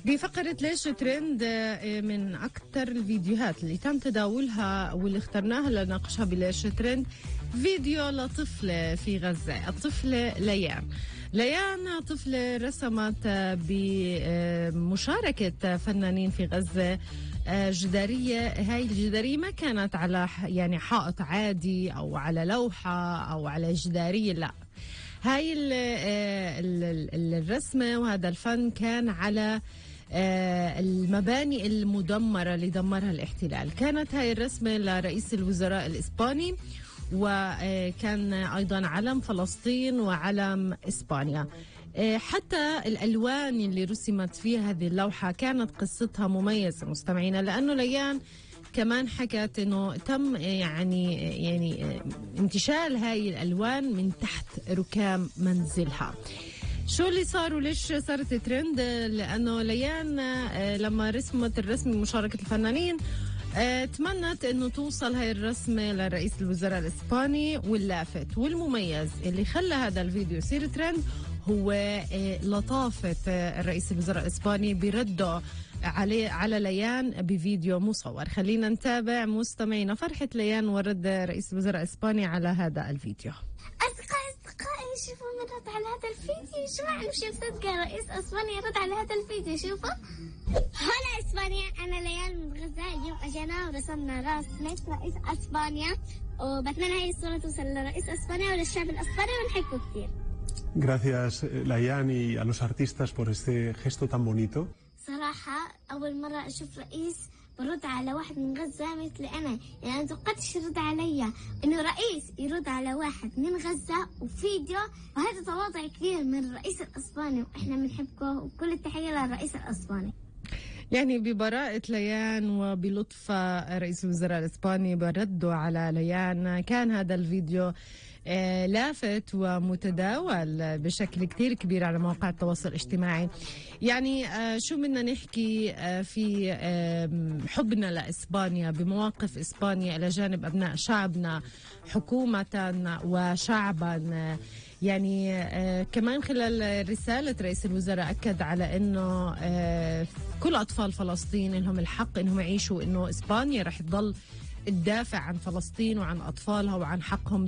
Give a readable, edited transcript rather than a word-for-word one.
بفقرة ليش ترند من أكثر الفيديوهات اللي تم تداولها واللي اخترناها لنناقشها بليش ترند فيديو لطفلة في غزة. الطفلة ليان طفلة رسمت بمشاركة فنانين في غزة جدارية. هاي الجدارية ما كانت على يعني حائط عادي أو على لوحة أو على جدارية، لا، هاي الرسمة وهذا الفن كان على المباني المدمرة اللي دمرها الاحتلال. كانت هاي الرسمة لرئيس الوزراء الإسباني، وكان أيضا علم فلسطين وعلم إسبانيا. حتى الألوان اللي رسمت فيها هذه اللوحة كانت قصتها مميزة مستمعينا، لأنه ليان كمان حكت انه تم يعني انتشال هاي الالوان من تحت ركام منزلها. شو اللي صار وليش صارت ترند؟ لانه ليان لما رسمت الرسمه مشاركه الفنانين تمنت انه توصل هاي الرسمه لرئيس الوزراء الاسباني. واللافت والمميز اللي خلى هذا الفيديو يصير ترند هو لطافه الرئيس الوزراء الاسباني برده على ليان بفيديو مصور. خلينا نتابع مستمعينا فرحة ليان ورد رئيس الوزراء الإسباني على هذا الفيديو. أصدقائي شوفوا من رد على هذا الفيديو. شو معنى مش مصدقة رئيس إسبانيا رد على هذا الفيديو؟ شوفوا. هلا إسبانيا، أنا ليان من غزة. اليوم أجينا ورسمنا رسمة رئيس إسبانيا، وبتمنى هاي الصورة توصل لرئيس إسبانيا وللشعب الإسباني ونحبه كثير. Gracias, Layan, y a los artistas por este gesto tan bonito. صراحة أول مرة أشوف رئيس برد على واحد من غزة مثل أنا، يعني أنا توقعتش يرد علي إنه رئيس يرد على واحد من غزة وفيديو، وهذا تواضع كبير من الرئيس الإسباني، وإحنا بنحبه وكل التحية للرئيس الإسباني. يعني ببراءة ليان وبلطف رئيس الوزراء الإسباني بردوا على ليان. كان هذا الفيديو لافت ومتداول بشكل كتير كبير على مواقع التواصل الاجتماعي. يعني شو بدنا نحكي في حبنا لإسبانيا بمواقف إسبانيا إلى جانب أبناء شعبنا حكومة وشعبا. يعني كمان خلال رسالة رئيس الوزراء أكد على أنه كل أطفال فلسطين لهم الحق أنهم يعيشوا، أنه إسبانيا رح تضل تدافع عن فلسطين وعن أطفالها وعن حقهم